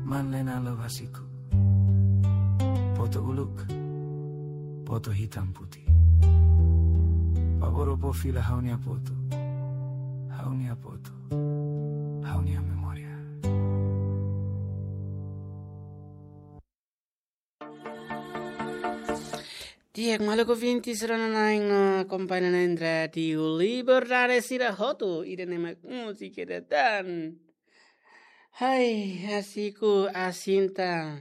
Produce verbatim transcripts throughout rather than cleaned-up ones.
Manlena Love Hasiku. Foto uluk, foto hitam putih. Favór fó fila ha'u-nia foto. Ha'u-nia foto. Ha'u-nia memória. Di'ak, maluk ouvinte sira-nia na'in no akompaña na'in Rádiu Liberdade sira hotu, ida-ne'e mak múzika ida tan. Hai, Hasiku, Asinta.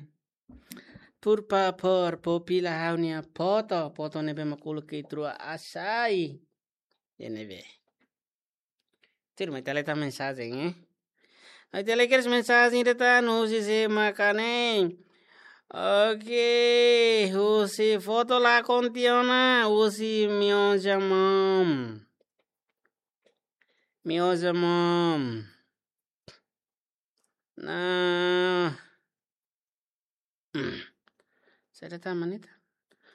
Por favór, fó fila ha'u-nia foto, foto ne'ebé mak uluk iha Trua Asai. Iha ne'ebé. Tuirmai ita lee tan mensajen, eh. Ita lee kedas mensajen ida tan, husi sé maka ne'e. Oke, husi foto lakon tiha ona, husi Mioja Mom. Mioja Mom. Nah. Saida tan mak ne'e tan?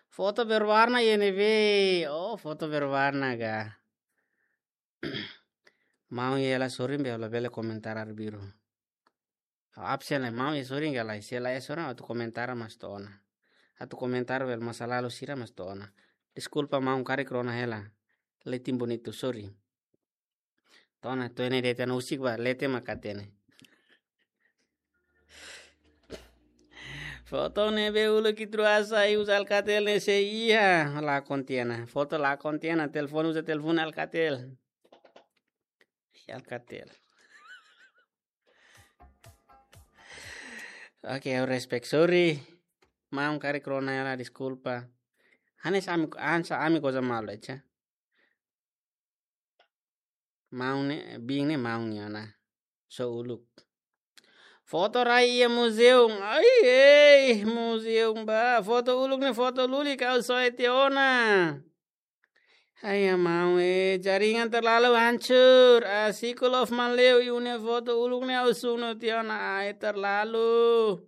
Foto berwarna iha ne'ebé. Oh, foto berwarna ka. Maun iha hela sorin be labele komentar arbiru. Absen lai maun iha sorin ka lae. Se la iha sorin atu komentar mas to'o ona. Atu komentar bele masa lalu sira mas to'o ona. Deskulpa maun karik rona hela. Letin bonitu, sorry. To'o ona, to'o ne'e de'it, anu husik ba, leten mak hatene. Foto ne'ebé uluk iha Trua Asai uza Alcatel ne'e sé iha, lakon tiha ona. Foto lakon tiha ona, telefone uza telefone Alcatel. Alcatel. Oke, ha'u respect, sorry. Maun karik rona hela, deskulpa. Hanesan ami, hanesan ami goza malu, eca. Maun ne'e, biin ne'e maun nia ona. Só uluk. Foto rai iha museum. Ai, ei, museum ba. Foto uluk ne'e foto lulik ha'u soe tiha ona. Ai, maun, eh, jaringan terlalu hancur. Ah, Hasiku Love Maleu, iha ne'e foto uluk ne'e ha'u sunu tiha ona. Ai, terlalu.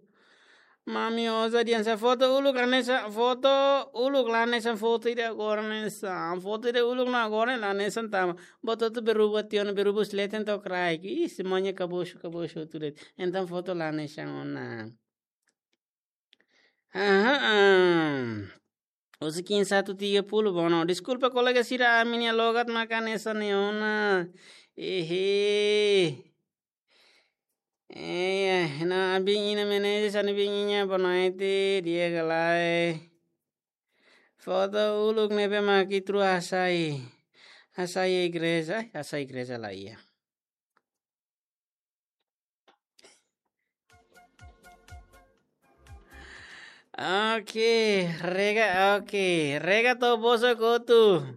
Mami oza dian sa foto uluk hanesan foto uluk la hanesan foto ida agora hanesan. Foto ida uluk no agora la hanesan tama. Foto hotu berubah tiha ona, berubah husi leten to'o kraik. Ih, semuanya kabosu, kabosu hotu de'it. Entaun foto la hanesan ona. Aha, ah. Husi Kim satu tiga puluh, bono. Deskulpa kolega sira, ami-nia logat maka hanesan ne'e ona. Ehe. Eh, na abin ina meneje sani bin inya bonaiti dia galai. Foto uluk ne'ebé mak iha Trua Asai. Asai igreja, ai, Asai igreja la iha. Oke, rega, oke. Rega to'o bosok hotu.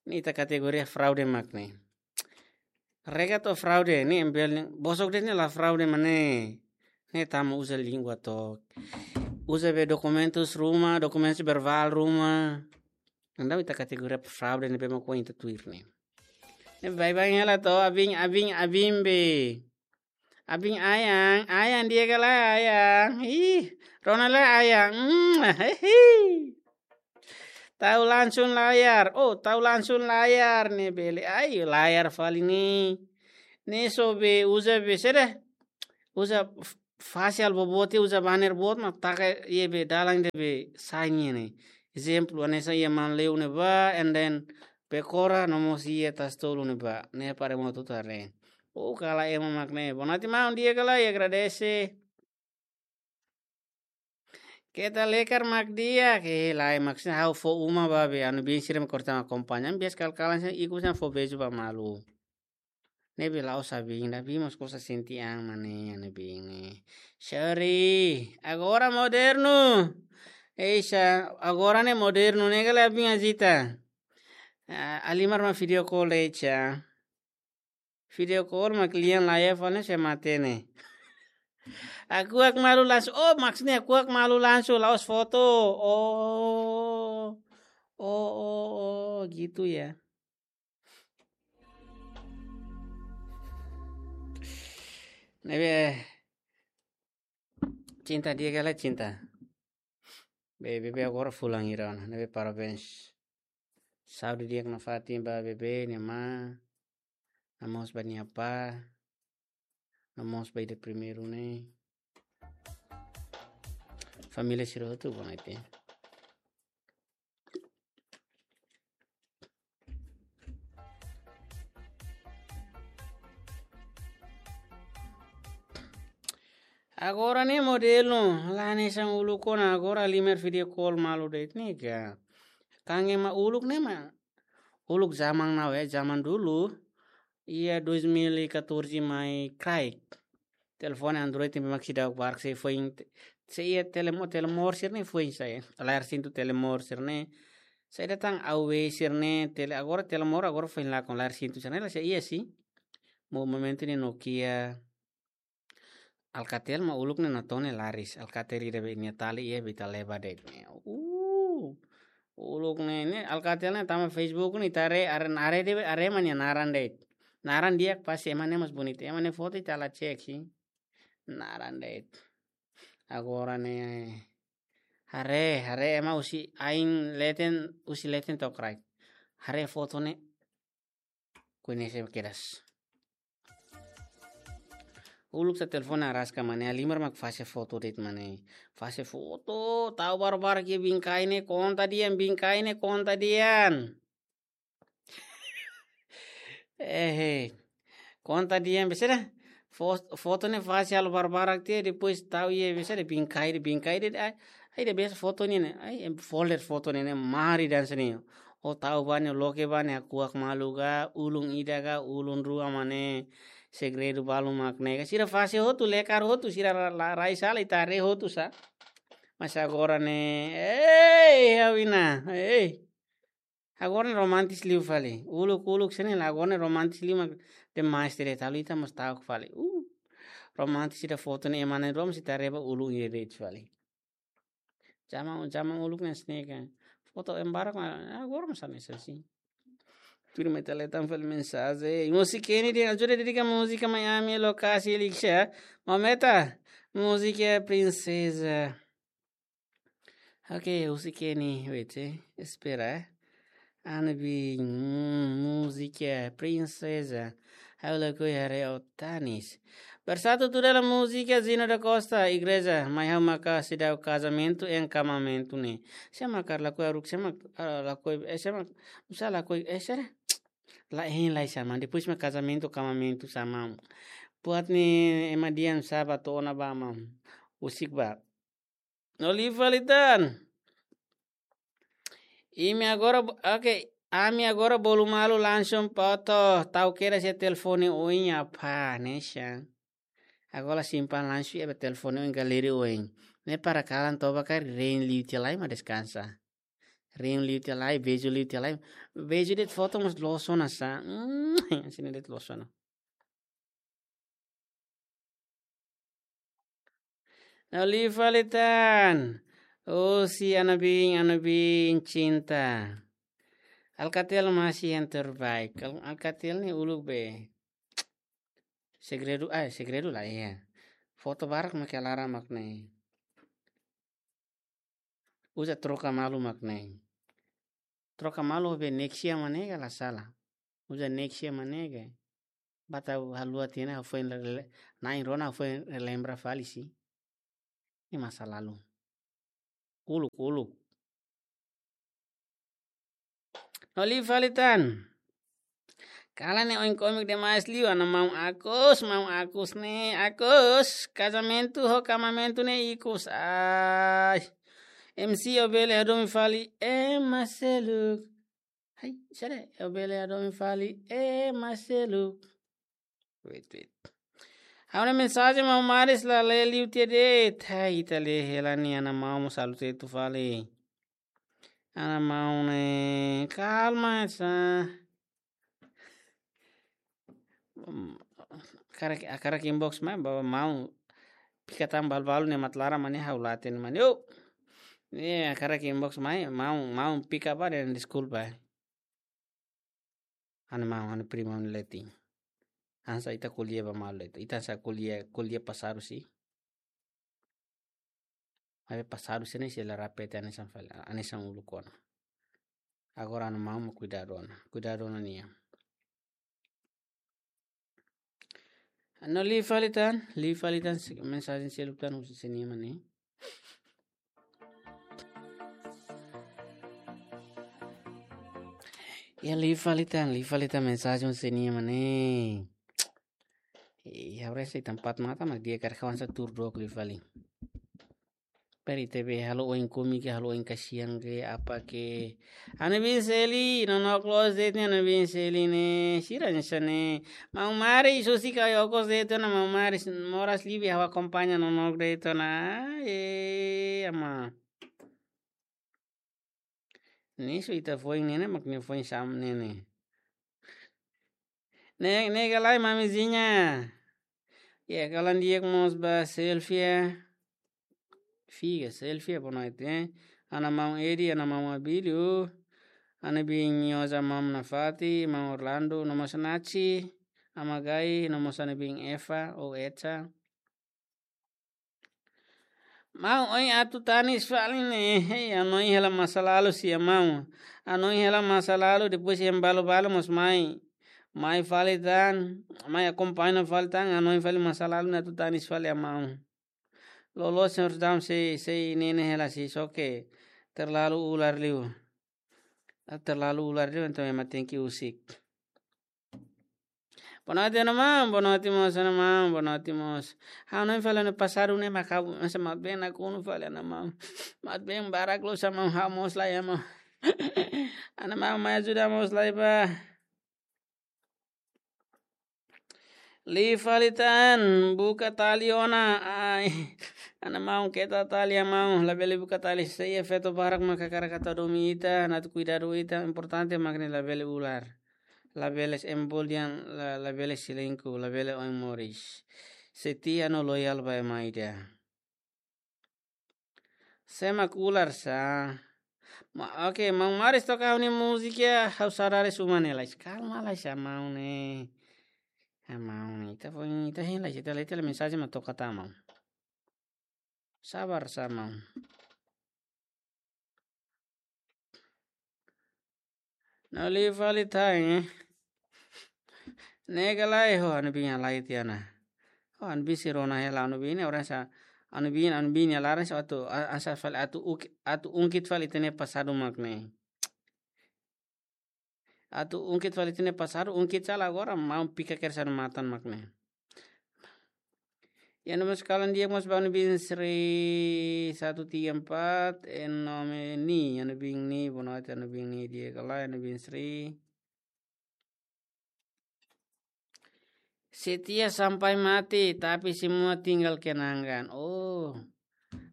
Ne'e ita kategoria fraude mak ne'e. Rega to'o fraude, ne'e embel ne'e. Bosok de'it ne'e la fraude mak ne'e. Ne'e tama uza língua to'o. Uza be dokumentus ruma, dokumentus verbál ruma. Entaun ita kategoria fraude ne'ebé mak ohin ita tuir ne'e. Ne'e baibain hela to'o, abin, abin, abin be. Abin ayang, ayang dia ka lae ayang. Ih, rona lae ayang. Hmm, hehe. Tau langsung layar. Oh, tau langsung layar ne'e bele. Ai, layar fali ne'e. Ne'e só be uza be saida. Uza f-, facial boboot, uza banner boot mak taka iha be dalan ida be sai nian ne'e. Ezemplu, hanesan iha Manleu ne'ebá, and then Pekora no mós iha Tasi Tolu ne'ebá. Ne'e para motu tare. Oh, kala ema mak ne'e. Bonaiti maun dia kala, i agradese. Keta lekar mak di'ak, ke lae mak sina ha'u fó uma ba be, anu bin sira mak korta mak akompaña. Bias kal-kalan sina ikus sina fó beju ba malu. Ne'ebé la'ós abin, abin mós kosa sente an mak ne'e, ne'ebé ne'e. Sorry, agora modernu. Eixa, agora ne'e modernu, ne'e kala abin agita. Ah, halimar mak video call eixa. Video call mak lian layar fali ne'e se mate ne'e. Aku ak malu langsung, oh, maksudnya aku ak malu langsung, la'ós foto. Oh. Oh, oh, oh, gitu ya. Ne'ebé cinta dia kala cinta. Be, be, be agora fulan hira ona, ne'ebé parabéns. Saúde di'ak nafatin ba bebé nia maun, no mós ba nia apá, no mós ba ida primeiru ne'e. Família sira hotu, boa noite. Agora ne'e modelu, la hanesan uluk ona, agora halimar video call malu de'it ne'e ka. Kan ema uluk ne'e mak, uluk zaman now ya, zaman dulu, iha dois mil e catorze mai kraik. Telefone Android ne'e mak seidauk barak, sei foin, sei iha Telemo-, Telemor sira-ne'e foin sai. Layar sentuh Telemor sira-ne'e. Saida tan A O W sira-ne'e, tele, agora Telemor, agora foin lakon, layar sentuh sira-ne'e la sei iha sih. Mo-, momentu ne'e Nokia, Alcatel mak uluk ne'e natoon ne'e laris. Alcatel ida be nia tali iha be ita leba de'it ne'e. Uh. Uluk ne'e, ne'e Alcatel ne'e tanba Facebook ne'e ita haree, haree, haree de'it, haree ema nia naran de'it. Naran di'ak pasti ema ne'e mós bonita. Ema nia foto ita la cek sih. Naran de'it. Agora ne'e haree, haree ema husi ain leten, husi leten to'o kraik. Haree foto ne'e. Koñese kedas. Uluk sá telefone araska mane, halimar mak fase foto de'it mane. Fase foto, tau barbarak iha bingkai ne'e, konta dehan, bingkai ne'e, konta dehan. Eh, eh. Konta dehan, besera. Fo-, foto ne'e fase halo barbarak tiha, depois tau iha, besera, bingkai de'it, bingkai de'it, ai, ai, ida besik foto ne'e, ai, em, folder foto ne'e, ne'e, mari dan sini. Ó tau ba ne'e, ó loke ba ne'e, hakuak malu ka, ulun ida ka, ulun rua mane, segredu balu mak ne'e ka. Sira fase hotu, lekar hotu, sira la, la, rai sala, ita haree hotu sá. Mas agora ne'e, ei, Awina, ei. Agora ne'e romantis liu fali. Uluk, uluk sini la, agora ne'e romantis liu mak demais tiha de'it, halo ita mós ta'uk fali. Uh, romantis ida foto ne'e ema na'in-rua mós ita haree ba ulun ida de'it fali. Zaman, zaman uluk ne'e sini ka. Foto ema barak mak, agora mós hanesan sá. Tuir mai ita lee tan fali mensajen. Múzika ne'e dehan, ajuda dedika múzika mai ami, lokasi Elixir. Momenta, múzika Prinseza. Ok, múzika ne'e, wait, eh. Espera, eh. Ana bin, mm, múzika Prinseza. Ha'u lakohi haree ó tanis. Bersatu tuda la múzika Zino da Costa, Igreja, mai ha'u maka seidauk kazamentu, hein, kamamentu ne'e. Sé mak lakohi haruka, sé mak, ah, lakohi, eh, sé mak, nusá lakohi, eh, será? La, hein, la, sama. Depois mak kazamentu, kamamentu, sama. Buat ne'e ema dehan sá ba to'o ona ba, mam. Husik ba. No liu fali tan. Imi agora bo-, ok. Ami agora bolu malu langsung foto. Tau kedas iha telefone oin apa, ne'e sá. Agora simpan langsung iha telefone oin, galeri oin. Ne'e para kalan toba ka rein liu tiha lai mak deskansa. Rein liu tiha lai, beijo liu tiha lai. Beijo de'it foto mós loos ona sá. Hmm, sini de'it loos ona. No liu fali tan. Oh, si Ana bin, Ana bin cinta. Alcatel masih yang terbaik. Al-, Alcatel ne'e uluk be. Segredu, ah, segredu la, iya. Foto barak mak iha laran mak ne'e. Uza troka malu mak ne'e. Troka malu be Nexia mak ne'e ka la sala. Uza Nexia mak ne'e ka. Ba tau haluha tiha ona, ha'u foin le-, le-, na'in-rua ona ha'u foin lembra fali sih. Ne'e masa lalu. Uluk, uluk. No liu fali tan. Kalan ne'e oin kómiku demais liu, Ana maun Agus, maun Agus ne'e, Agus, kazamentu ho kamamentu ne'e ikus. Ai. M C, ó bele hadomi fali ema seluk. Hai, sere, ó bele hadomi fali ema seluk. Wait, wait. Ha'u-nia mensajen maun Maris la lee liu tiha de'it. Hai, ita lee hela ne'e, Ana maun mós halo tetu fali. Ana maun ne'e, kalma sá. Hmm, hakarak, hakarak inbox mai, ba maun. Pika tan balu-balu ne'e mak laran mak ne'e ha'u la hatene mak ne'e. Yo. Ne'e hakarak inbox mai, maun, maun pika ba dehan deskulpa. Ana maun, ana prima, ana letin. Hanesan ita ko'alia ba malu ita. Ita hanesan ko'alia, ko'alia pasadu sih. Maibé pasadu sira-ne'e sei la repete hanesan fali, hanesan uluk ona. Agora Ana maun mak kuidadu ona. Kuidadu ona nian. No liu fali tan, liu fali tan se-, mensajen seluk tan husi sini mane. Ya, liu fali tan, liu fali tan mensajen sira-ne'e, mane. Ih, ha'u rasa iha tempat mata, mas dia kar kawan sa tur dok liu fali. Peri T V halo oin kumi ke, halo oin kasihan ke, apa ke. Ha'u-nia biin Seli, nonook loos de'it ne'e, ha'u-nia biin Seli ne'e, sira hanesan ne'e. Maun Mari, susi ka okos de'it ona, Maun Mari, moras liu be ha'u akompaña nonook de'it ona. Eh, ama. Ne'e só ita foin ne'e, ne'e mak nia foin sam ne'e. Ne'e, ne'e ka lae, mamizinha. Ya, kalan di'ak mós ba Selvia. Figa, Selvia, boa noite, eh. Ha'u-nia maun Edi, ha'u-nia maun Abílio. Ha'u-nia biin Nyoza, maun Nafati, maun Orlando, no mós Naci, Ama Gai, no mós ha'u-nia biin Eva, ou Echa. Maun, ohin atu tanis fali ne'e, hei, hanoin hela masa lalu sia maun. Hanoin hela masa lalu, depois iha balu-balu mós mai. Mai fali tan, mai akompaña fali tan, hanoin fali masa lalu ne'e atu tanis fali ha'u maun. Loloos señór Dam sei, sei ne'e ne'e hela sei, só ke terlalu ular liu. Ah, terlalu ular liu, entaun ema tenke husik. Boa noite, ha'u-nia maun. Boa noite mós, ha'u-nia maun. Boa noite mós. Ha'u hanoin fali ha'u-nia pasadu ne'e makabu, mas mat-been nakonu fali, ha'u-nia maun. Mat-been barak loos, ha'u-nia maun, ha'u mós laiha, maun. Ha'u-nia maun, mai ajuda mós lai ba. Liu fali tan, buka tali ona. Ai. Ha'u-nia maun, keta tali, ha'u-nia maun. Labele buka tali, sei efeitu barak mak hakarak atu hadomi ita, atu kuidadu ita, importante mak ne'e labele ular. Labele embol dehan, la, labele selingkuh, labele oin moris. Setia no loyal ba ema ida. Sé mak ular sa. Ma, oke, Maun Maris toka ha'u-nia múzika, ha'u saudades uma ne'e, lais. Kalma, lais, ha'u-nia maun ne'e. Ha'u-nia maun ne'e. Ita foin, ita hein, lais, ita, ita mensajen mak toka tan, maun. Sabar sa, maun. No liu fali tan, eh. Ne'e ka lae, ho, ha'u-nia biin halai tiha ona. Ho, ha'u-nia biin sira rona hela, ha'u-nia biin ne'e orang sa, ha'u-nia biin, ha'u-nia biin ne'e laran sa atu, a-, asa fali atu uk-, atu ungkit fali ita-nia pasadu mak ne'e. Atu ungkit fali ita-nia pasadu, ungkit sala agora, maun pika kedas ha'u-nia matan mak ne'e. Ya, no mós kalan di'ak mós ba ha'u-nia biin Sri satu tiga empat, eh, nome Ni, ha'u-nia biin Ni, boa noite, ha'u-nia biin Ni, di'ak ka lae, ha'u-nia biin Sri. Setia sampai mati, tapi semua tinggal kenangan. Oh.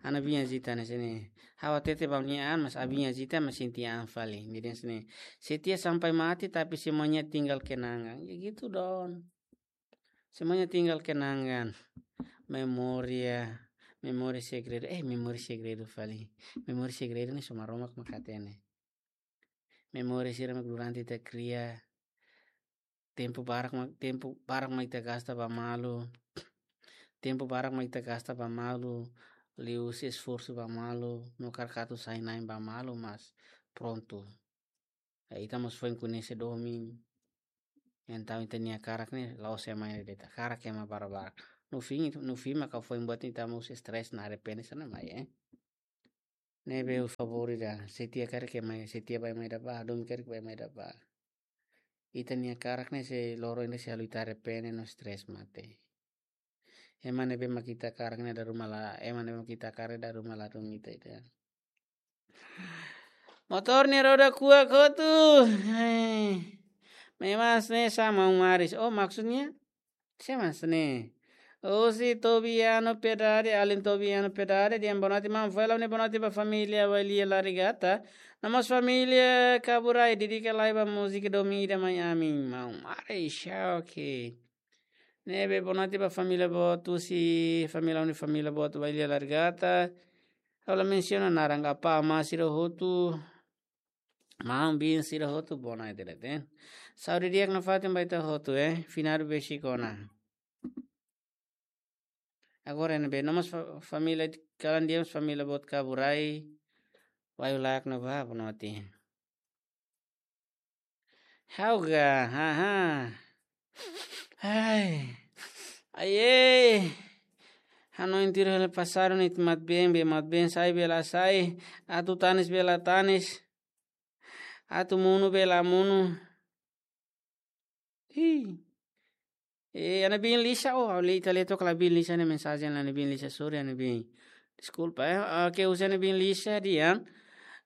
Ha'u-nia biin Azita hanesan ne'e. Ha'u hatete ba nia an, mas ha'u-nia biin Azita mak sente an fali. Jadi hanesan ne'e. Setia sampai mati, tapi semuanya tinggal kenangan. Ya gitu, Don. Semuanya tinggal kenangan. Memória, memória segredu. Eh, memória segredu fali. Memória segredu ne'e só Maromak mak hatene. Memória sira mak durante ita kria, tempu barak mak, tempu barak mak ita gasta ba malu. Tempu barak mak ita gasta ba malu, liuhusi esforsu ba malu, no hakarak atu sai na'in ba malu, mas prontu. Eh, ita mós foin koñese domin. Entaun ita-nia hakarak ne'e la'ós ema ida de'it, hakarak ema barak-barak. No fim, no fim maka foin buat ita mós stres no arrepende hanesan ne'e mai, eh. Ne'ebé favór ida, setia karik ema, setia ba ema ida ba, domin karik ba ema ida ba. Ita-nia hakarak ne'e sei loron ida sei halo ita arrepende no stres mate. Ema ne'ebé mak ita hakarak ne'e dala ruma la, ema ne'ebé mak ita hakarak dala ruma ladún ita ida. Motór nia roda kuak hotu. Hei. Memang hanesan ne'e sa Maun Maris. Oh, maksudnya? Sé mak hanesan ne'e. Husi Tobiano Piedade, alin Tobiano Piedade, dehan boa noite, maun, fó hela ha'u-nia boa noite ba família Wailia La Regata. No mós família Kaburai, dedika lai ba múzika domin ida mai ami, Maun Maris, oke. Ne'ebé boa noite ba família boot, husi família, ha'u-nia família boot Wailia La Regata. Ha'u la mensiona naran, apá, amá sira hotu. Maun, biin sira hotu, boa noite de'it, eh. Saúde di'ak nafatin ba ita hotu, eh. Finadu besik ona. Agora ne'ebé, no mós fa-, família, kalan di'ak mós família boot Kaburai. Waiyu layak no ba, boa noite. Ha'u ga, haha. Ai. Ai, ei. Hanoin tuir hela pasadu ne'e ita mat-been, be mat-been sai, be la sai. Atu tanis, be la tanis. Atu monu be la monu. Hi. Eh, ha'u-nia biin Lisa, oh, ha'u lee, ita lee took ha'u-nia biin Lisa nia mensajen, ha'u-nia biin Lisa, sorry, ha'u-nia biin. Deskulpa, eh. Oke, husu ha'u-nia biin Lisa dehan.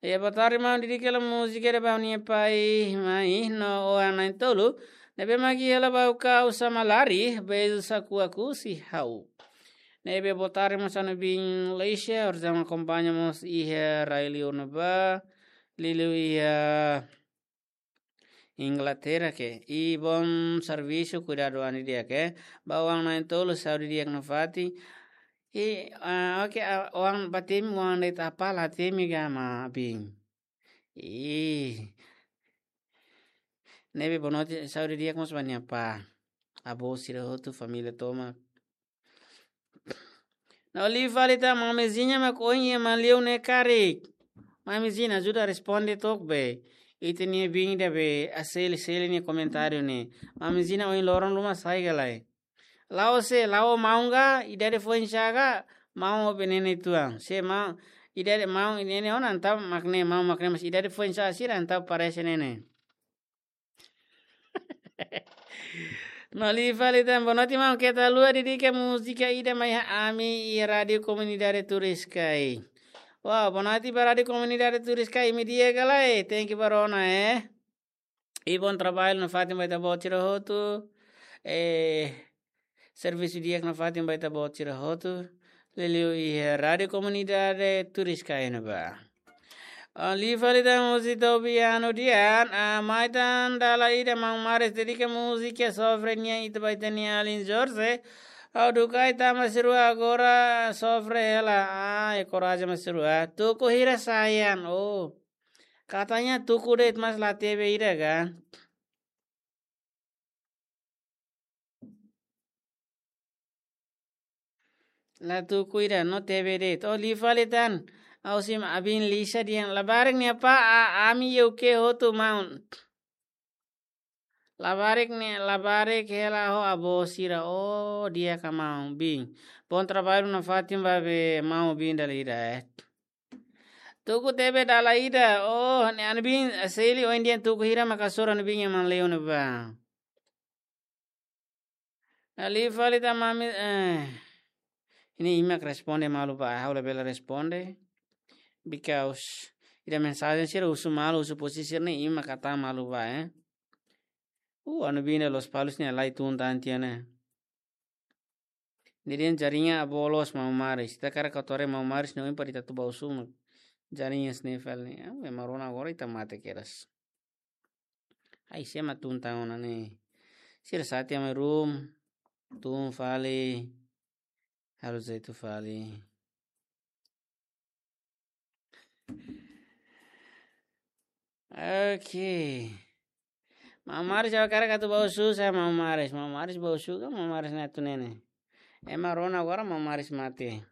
Eh, boa tarde, maun, dedika hela múzika ida ba ha'u-nia pai, mai, no oan na'in-tolu. Ne'ebé mak iha hela ba ha'u kau sama lari, beijo sa kuak husi ha'u. Ne'ebé boa tarde mós ha'u-nia biin Lisa, orsida mak akompaña mós iha rai-liur ne'ebá, liuliu iha Inglaterra ke. I bom servisu, kuidadu an didi'ak ke. Ba oan na'in-tolu, saúde di'ak nafatin. I, ah, oke, ah, oan ba temi, oan de'it apá la temi ka maun biin. I. Ne'ebé boa noite, saúde di'ak mós ba nia apá. Avó sira hotu, família tomak. No liu fali tan, Mami Zina mak ohin iha Manleu ne'e karik. Mami Zina, ajuda responde took be. Ita-nia biin ida be, Aseli, Seli nia komentáriu ne'e. Mami Zina ohin loron ruma sai ka lae? La'o sé, la'o maun ka, idade foin-sa'e ka, maun ho ne'e uitoan. Sé maun, idade maun ne'e ona entaun mak ne'e, maun mak ne'e, mas idade foin-sa'e sira entaun parese ne'e. No liu fali tan, boa noite maun, keta haluha dedika múzika ida mai ha'u-nia ami iha Rádiu Komunidade Turiscai. Wow, boa noite ba Rádiu Komunidade Turiscai, imi di'ak ka lae, thank you ba rona, eh. I bom trabalho nafatin ba ita-boot sira hotu. Eh, servisu di'ak nafatin ba ita-boot sira hotu. Liuliu iha Rádiu Komunidade Turiscai ne'ebá. Ah, liu fali tan husi Tobiano dehan, ah, mai tan dala ida maun Maris dedika múzika sofre nian ita ba ita-nia alin Jorge. Ha'u dukai tama sirua agora sofre hela. Ah, e koraja mós sirua. Tuku hira sayang. Oh. Katanya tuku de'it mas la tebe ida ka. La tuku ida no tebe de'it. Oh, liu fali tan. Ha'u simu ha'u-nia biin Lisa dehan labarik nia apá, a, ami iha U K hotu maun. Labarik ne'e, labarik hela ho avó sira, oh, di'ak ka maun biin. Bom trabalho nafatin ba be maun biin dala ida, eh. Tuku tebe dala ida, oh, ne'e ha'u-nia biin, Seli ohin dehan tuku hira mak hasoru ha'u-nia biin iha Manleu ne'ebá. No liu fali tan Mami, eh. Ne'e imi mak responde malu ba, ha'u labele responde. Because ida mensajen sira husu malu, husu posisi sira ne'e imi mak hatán malu ba, eh. Uh, ha'u-nia biin ida Lospalos ne'e halai tun tan tiha ne'e. Ne'e dehan jaringan bolos maun Maris. Ita hakarak atu haree maun Maris ne'e ohin para ita atu bá husu mak jaringan ne'e fali ne'e. Ah, ema rona agora ita mate kedas. Ai, sé mak tun tan ona ne'e. Sira sa'e tiha mai room. Tun fali. Halo jeitu fali. Oke. Maun Maris, ha'u hakarak atu bá husu sa maun Maris. Maun Maris bá husu ka, maun Maris ne'e atu ne'e ne'e. Ema rona agora maun Maris mate.